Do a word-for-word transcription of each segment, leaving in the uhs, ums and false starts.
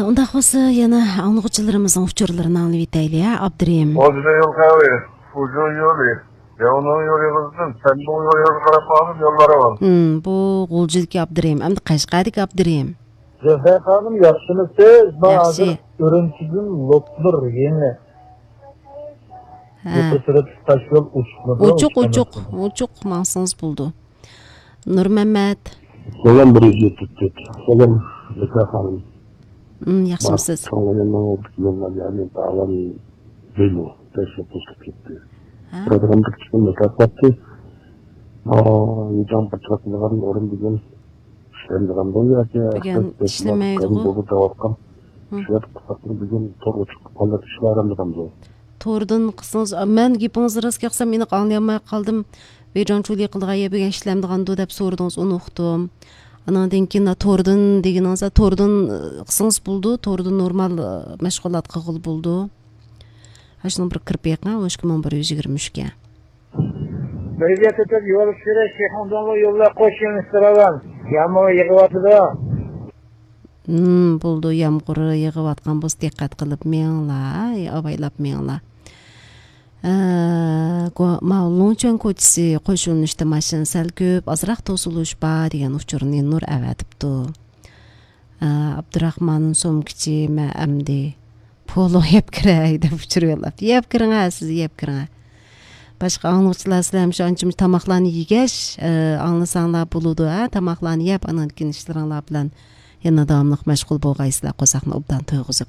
ئۇنداق بولسا، يەنە ئاڭلىغۇچىلىرىمىزنىڭ ئۇچۇرلىرىنى ئاڭلىۋېتەيلى، ھە، ئابدۇرېھىم. ئوزۇنۇ يول قەۋى، ئۇزۇن يولى، ياۋنىڭ يولى قىزدىن، سەننىڭ يولى قاراپ قالدىم، يوللار ئاۋام. ھىم، بۇ غۇلجىدىكى ئابدۇرېھىم، ئەمدى قەشقەردىكى ئابدۇرېھىم. زەفەر خانىم، ياخشىمۇسىز؟ مانا ياخشى. ھازىر ئۈرۈمچىدىن لوپنۇر يېڭى. ھە. يۇقىرى تەرەپ تاش يول ئوچۇقمىدۇ؟ ئوچۇق، ئوچۇق، ئوچۇق، ماڭسىڭىز بولىدۇ. نۇرمەمەت. سالام، بىر يۈز يەتمىش تۆت. سالام، زەفەر خانىم. ھىم، ياخشىمۇسىز؟ مانا، يوللار، يەنى داۋان بىلو، تەشۋىق قىلىپ كەتتى. ھە؟ بىر ئادەم بىر كىشىنى مۇكاپاتتى. ئا، يېزام بىر چاقىلغان ئورۇن بۈگۈن ئىشلەمدىغان بولدى ياكى بۈگۈن ئىشلىمەيدىغۇ. بولدى دەۋاتقان. ھىم. شۇ يەردە قىسقارتىپ بۈگۈن تور ئوچۇق قالدى، ئىشلەمدىغان بولدى. توردىن قىلسىڭىز، مەن گېپىڭىزنى راست قىلسام ئېنىق ئاڭلىيالماي قالدىم. ۋېيجاڭچۇلى قىلىدىغان يەر بۈگۈن ئىشلەمدىغاندۇ دەپ سورىدىڭىز، ئۇنى ئۇقتۇم. ئانىڭدىن كېيىن توردىن دېگىنىڭىز، توردىن، ئى، قىلسىڭىز بولىدۇ، توردىن نورمال، ئى، مەشغۇلات قىلغىلى بولىدۇ. ھە، شۇنىڭ بىر كىرىپ بېقىڭ، ئون ئىككى مىڭ بىر يۈز يىگىرمە ئۈچكە. بىرگە تۆتەپ يول سۈرە شىخۇڭدۇڭلۇ يوللار قوش يۆنىلىشتە راۋان. يامغۇر يېغىۋاتىدۇ. ھىم، بولىدۇ، يامغۇر يېغىۋاتقان بولسا دىققەت قىلىپ مېڭىڭلار، ئاۋايلاپ مېڭىڭلار. ئە، گو-، ماۋۇ لوڭچۈەن كوچىسى قوش يۆنىلىشتە ماشىنا سەل كۆپ، ئازراق توسۇلۇش بار دېگەن ئۇچۇرنى نۇر ئەۋەتىپتۇ. ئە، ئابدۇراخمان سومكىچى، مەن ئەمدى پولۇ يەپ كىرەي دەپ ئۇچۇر يوللاپتۇ. يەپ كىرىڭە، سىز يەپ كىرىڭە. باشقا ئاڭلىغۇچىلار، سىلەر شۇ ئانچە-مۇنچە تاماقلارنى يېگەچ، ئە، ئاڭلىساڭلار بولىدۇ، ھە؟ تاماقلارنى يەپ، ئانىڭدىن كېيىن ئىشلىرىڭلار بىلەن يەنە داۋاملىق مەشغۇل بولغايسىلەر، قورساقنى ئوبدان تويغۇزۇپ.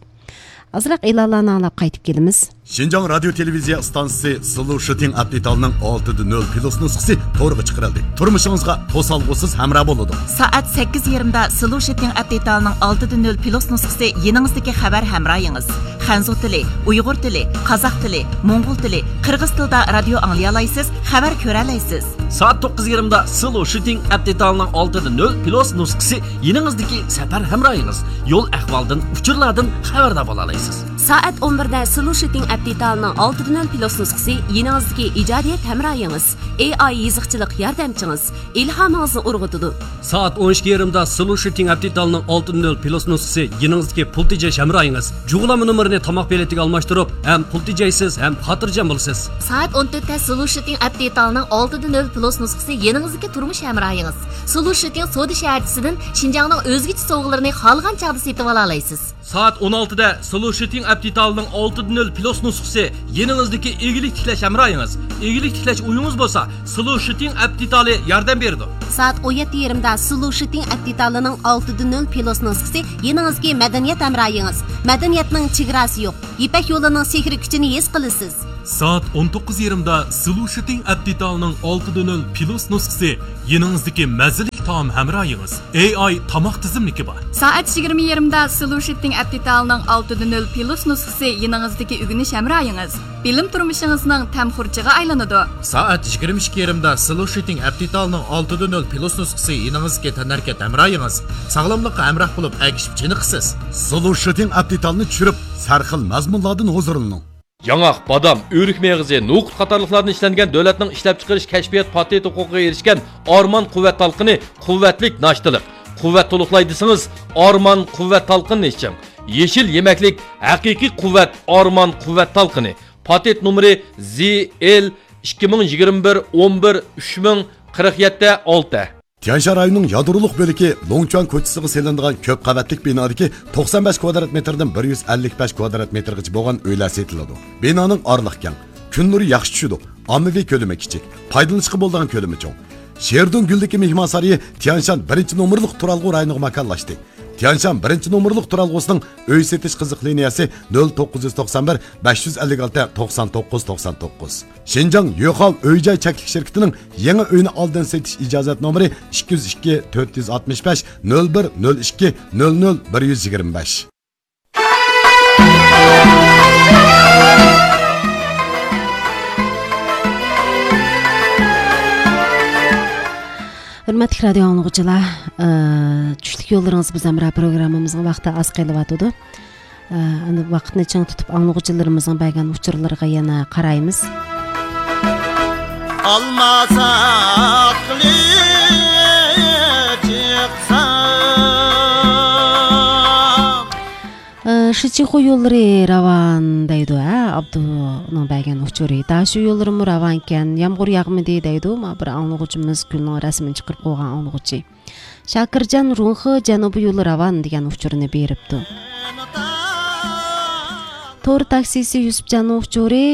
ئازراق ئېلانلارنى ئاڭلاپ قايتىپ كېلىمىز. شىنجاڭ رادىيو تېلېۋىزىيە ئىستانسىسى سلۇ شىتىڭ ئەپ دېتالىنىڭ ئالتىدە نۆل پلۇس نۇسخىسى تورغا چىقىرىلدى. تۇرمۇشىڭىزغا توسالغۇسىز ھەمراھ بولىدۇ. سائەت سەككىز يېرىمدا سلۇ شىتىڭ ئەپ دېتالىنىڭ ئالتىدە نۆل پلۇس نۇسخىسى يېنىڭىزدىكى خەۋەر ھەمراھىڭىز. خەنزۇ تىلى، ئۇيغۇر تىلى، قازاق تىلى، موڭغۇل تىلى، قىرغىز تىلىدا رادىيو ئاڭلىيالايسىز، خەۋەر كۆرەلەيسىز. سائەت توققۇز يېرىمدا سلۇ شىتىڭ ئەپ دېتالىنىڭ ئالتىدە نۆل پلۇس نۇسخىسى يېنىڭىزدىكى سەپەر ھەمراھىڭىز. يول ئەھۋالدىن، ئۇچۇرلاردىن خەۋەردار بولالايسىز. سائەت ئون بىردە سلۇ شىتىڭ ئەپ دېتالىنىڭ ئالتىدە نۆل پلۇس نۇسخىسى يېنىڭىزدىكى ئىجادىيەت ھەمراھىڭىز، ئېي ئاي يېزىقچىلىق ياردەمچىڭىز، ئىلھامىڭىزنى ئۇرغۇتىدۇ. سائەت ئون ئىككى يېرىمدا سلۇ شىتىڭ ئەپ دېتالىنىڭ ئالتىدە نۆل پلۇس نۇسخىسى يېنىڭىزدىكى پۇل تېجەش ھەمراھىڭىز. جۇغلانما نومۇرىنى تاماق پېلىتىگە ئالماشتۇرۇپ، ھەم پۇل تېجەيسىز، ھەم خاتىرجەم بولىسىز. سائەت ئون تۆتتە سلۇ شىتىڭ ئەپ دېتالىنىڭ ئالتىدە نۆل پلۇس نۇسخىسى يېنىڭىزدىكى تۇرمۇش ھەمراھىڭىز. سلۇ شىتىڭ سودا شەھەرچىسىدىن شىنجاڭنىڭ ئۆزگىچە سوۋغىلىرىنى خالىغان چاغدا سېتىۋالالايسىز. سائەت ئون ئالتىدە سلۇ شىتىڭ ئەپ دېتالىنىڭ ئالتىدە نۆل پلۇس نۇسخىسى يېنىڭىزدىكى ئىگىلىك تىكلەش ھەمراھىڭىز. ئىگىلىك تىكلەش ئويىڭىز بولسا، سلۇ شىتىڭ ئەپ دېتالى ياردەم بېرىدۇ. سائەت ئون يەتتە يېرىمدا سلۇ شىتىڭ ئەپ دېتالىنىڭ ئالتىدە نۆل پلۇس نۇسخىسى يېنىڭىزدىكى مەدەنىيەت ھەمراھىڭىز. مەدەنىيەتنىڭ چېگراسى يوق. يىپەك يولىنىڭ سېھرىي كۈچىنى ھېس قىلىسىز. سائەت ئون توققۇز يېرىمدا سلۇ شىتىڭ ئەپ دېتالىنىڭ ئالتىدە نۆل پلۇس نۇسخىسى يېنىڭىزدىكى مەززىلىك تائام ھەمراھىڭىز. ئېي ئاي تاماق تىزىملىكى بار. سائەت يىگىرمە يېرىمدا سلۇ شىتىڭ ئەپ دېتالىنىڭ ئالتىدە نۆل پلۇس نۇسخىسى يېنىڭىزدىكى ئۆگىنىش ھەمراھىڭىز. بىلىم تۇرمۇشىڭىزنىڭ تەم خۇرۇچىغا ئايلىنىدۇ. سائەت يىگىرمە ئىككى يېرىمدا سلۇ شىتىڭ ئەپ دېتالىنىڭ ئالتىدە نۆل پلۇس نۇسخىسى يېنىڭىزدىكى تەنھەرىكەت ھەمراھىڭىز. ساغلاملىققا ھەمراھ بولۇپ، ئەگىشىپ چېنىقىسىز. سلۇ شىتىڭ ئەپ دېتالنى چۈشۈرۈپ، سەرخىل مەزمۇنلاردىن ھۇزۇرلىنىڭ. ياڭاق، بادام، ئۆرۈك مېغىزى، نوقۇت قاتارلىقلاردىن ئىشلەنگەن دۆلەتنىڭ ئىشلەپچىقىرىش كەشپىيات پاتېنت ھوقۇقىغا ئېرىشكەن ئارمان قۇۋۋەت تالقىنى قۇۋۋەتلىك ناشتىلىق. قۇۋۋەت تولۇقلاي دېسىڭىز، ئارمان قۇۋۋەت تالقىنىنى ئىچىڭ. يېشىل يېمەكلىك، ھەقىقىي قۇۋۋەت، ئارمان قۇۋۋەت تالقىنى. پاتېنت نومۇرى زى ئېل ئىككى مىڭ يىگىرمە بىر ئون بىر ئۈچ مىڭ قىرىق يەتتە ئالتە. تيەنشان رايونىنىڭ يادرولۇق بۆلىكى لوڭچۈەن كوچىسىغا سېلىنىدىغان كۆپ قەۋەتلىك بىنادىكى توقسان بەش كۋادرات مېتىردىن بىر يۈز ئەللىك بەش كۋادرات مېتىرغىچە بولغان ئۆيلەر سېتىلىدۇ. بىنانىڭ ئارىلىقى كەڭ، كۈن نۇرى ياخشى چۈشىدۇ، ئاممىۋى كۆلىمى كىچىك، پايدىلىنىشقا بولىدىغان كۆلىمى چوڭ. شېردۇڭ گۈلدىكى مېھمانسارىيى تيەنشان بىرىنچى نومۇرلۇق تۇرالغۇ رايونىغا ماكانلاشتى. تيەنشان بىرىنچى نومۇرلۇق تۇرالغۇسىنىڭ ئۆي سېتىش قىزىق لىنىيەسى نۆل توققۇز يۈز توقسان بىر، بەش يۈز ئەللىك ئالتە، توقسان توققۇز، توقسان توققۇز. شىنجاڭ يۆخاۋ ئۆي جاي چەكلىك شىركىتىنىڭ يېڭى ئۆينى ئالدىن سېتىش ئىجازەت نومۇرى ئىككى يۈز ئىككى، تۆت يۈز ئاتمىش بەش، نۆل بىر، نۆل ئىككى، نۆل نۆل، بىر يۈز يىگىرمە بەش. ھۆرمەتلىك رادىيو ئاڭلىغۇچىلار، ئى، چۈشلۈك يوللىرىڭىز بىز ھەمراھ پروگراممىمىزنىڭ ۋاقتى ئاز قېلىۋاتىدۇ. ئى، ئەمدى ۋاقىتنى چىڭ تۇتۇپ ئاڭلىغۇچىلىرىمىزنىڭ بەرگەن ئۇچۇرلىرىغا يەنە قارايمىز. ئالما ساقلى چىقسا. شىچىخۇ يوللىرى راۋان دەيدۇ، ھە، ئابدۇنىڭ بەرگەن ئۇچۇرى. داشۇ يوللىرىمۇ راۋانكەن، يامغۇر ياغمىدى دەيدۇ، ما بىر ئاڭلىغۇچىمىز، گۈلنىڭ رەسىمىنى چىقىرىپ قويغان ئاڭلىغۇچى. شاكىرجان رۇڭخې جەنۇبىي يولى راۋان دېگەن ئۇچۇرنى بېرىپتۇ. تور تاكسىسى يۈسۈپجاننىڭ ئۇچۇرى،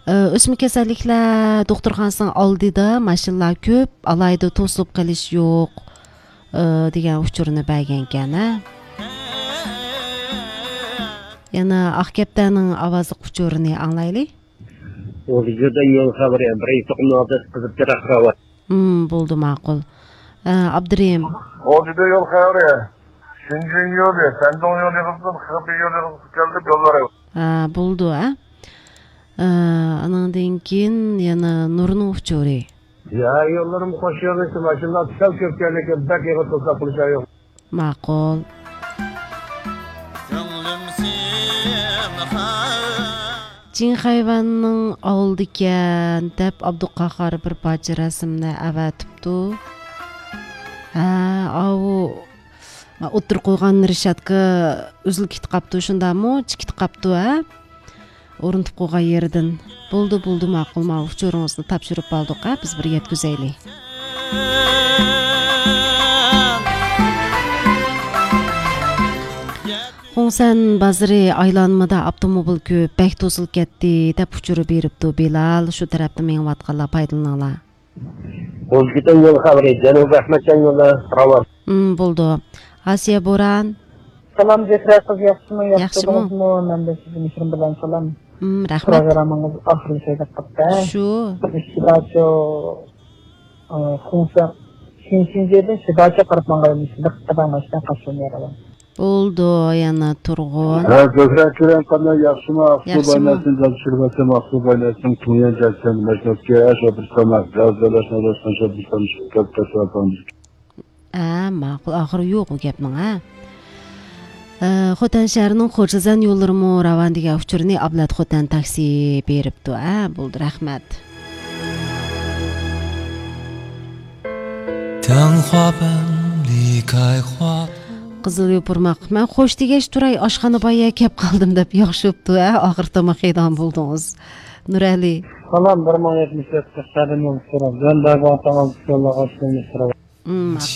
ئى، ئۆسمە كېسەللىكلەر دوختۇرخانىسىنىڭ ئالدىدا ماشىنىلار كۆپ، ئالاھىدە توسۇلۇپ قېلىش يوق، ئى، دېگەن ئۇچۇرنى بەرگەنكەن، ھە. يەنە ئاق كەپتەرنىڭ ئاۋازلىق ئۇچۇرىنى ئاڭلايلى. ھۇزۇردىن يول خەۋىرى، بىرىنچى توقۇمنىڭ ئالدىدا قىزىل چىراغ راۋان. ھىم، بولدى، ماقۇل. ئە، ئابدۇرېھىم. ھۇزۇردىن يول خەۋىرى، شېنجېن يولى، سەندۇڭ يولى قىزىل، خېبېي يولى قىزىل كەلدى، يوللار. ئە، بولدى، ئە. ئە، ئانىڭدىن كېيىن يەنە نۇرنىڭ ئۇچۇرى. يا، يوللىرىم خوش يوللىشىپ، ماشىنىلار سەل كۆپ كەلدى، بەك ئېغىر توساق قىلىش يوق. ماقۇل. كۆڭلۈم سېنى خەۋەر. جىڭ خەيۋەننىڭ ئالدىكەن دەپ ئابدۇقاھار بىر پارچە رەسىمنى ئەۋەتىپتۇ. ھە، ئاۋۇ ئوتتۇرا قويغان رېشاتكا ئۈزۈلۈپ كېتىپ قاپتۇ، شۇنداقمۇ؟ چىقىپ كېتىپ قاپتۇ، ھە؟ ئورنىتىپ قويغان يېرىدىن. بولدى، بولدى، ماقۇل، ماۋۇ ئۇچۇرىڭىزنى تاپشۇرۇپ ئالدۇق، ھە، بىز بىر يەتكۈزەيلى. خۇڭسەن بازىرى ئايلانمىدا ئاپتوموبىل كۆپ، بەك توسۇلۇپ كەتتى، دەپ ئۇچۇر بېرىپتۇ بىلال. شۇ تەرەپتە مېڭىۋاتقانلار پايدىلىنىڭلار. ئۇزبېكىستان يولى خەۋىرى، جەنۇبىي ئەخمەتجان يولى راۋان. ئىم، بولدى. ئاسىيە بوران. سالام زۆھرە قىز، ياخشىمۇ؟ ياخشى ياخشىمۇ؟ تۇردىڭىزمۇ؟ مەن دە سىزگە مېھرىم بىلەن سالام. ئىم، رەھمەت. پروگراممىڭىز ئاخىرلىشاي دەپ قاپتۇ. شۇ. شىداچو، ئى، خۇڭسەن، شىنشىنجېدىن شىداچو قاراپ ماڭغان، شىداق قىداڭلاشتىن قاچۇرمايدىغان. بولدى، يەنە تۇرغۇن. ھە، زۆھرە ئاكىرەم قانداق، ياخشىمۇ؟ ئاقسۇ ياخشىمۇ؟ بايناسىڭ، جان چۈشۈرۈۋاتسام، ئاقسۇ بايناسىڭ، تۇڭيەن جەكسەن، مەشناسكە، ئەش ئوبرىستانا، بىراز دۆلەشنى ئوبرىستان شوبرىستان شىركەت كەسىۋاتامدىكى. ھە، ماقۇل، ئاخىرى يوق ئۇ گەپنىڭ، ھە. ئە، خوتەن شەھىرىنىڭ خوجازەن يوللىرىمۇ راۋان دېگەن ئۇچۇرنى ئابلەت خوتەن تاكسى بېرىپتۇ، ھە، بولدى، رەھمەت. تەڭ خوابىم لىكاي خواب. قىزىل يوپۇرماق. مەن خوش دېگەچ تۇراي، ئاشخانا بايا كەپ قالدىم دەپ ياخشى بوپتۇ، ھە؟ ئاخىر تاماق يەيدىغان بولدىڭىز. نۇرئەلى. سالام، بىر مىڭ يەتمىش يەتتە قەدىم يول سورا. بىلەن بەرگەن تاڭىز سۆللەر ئاشۇنى سورا. مم،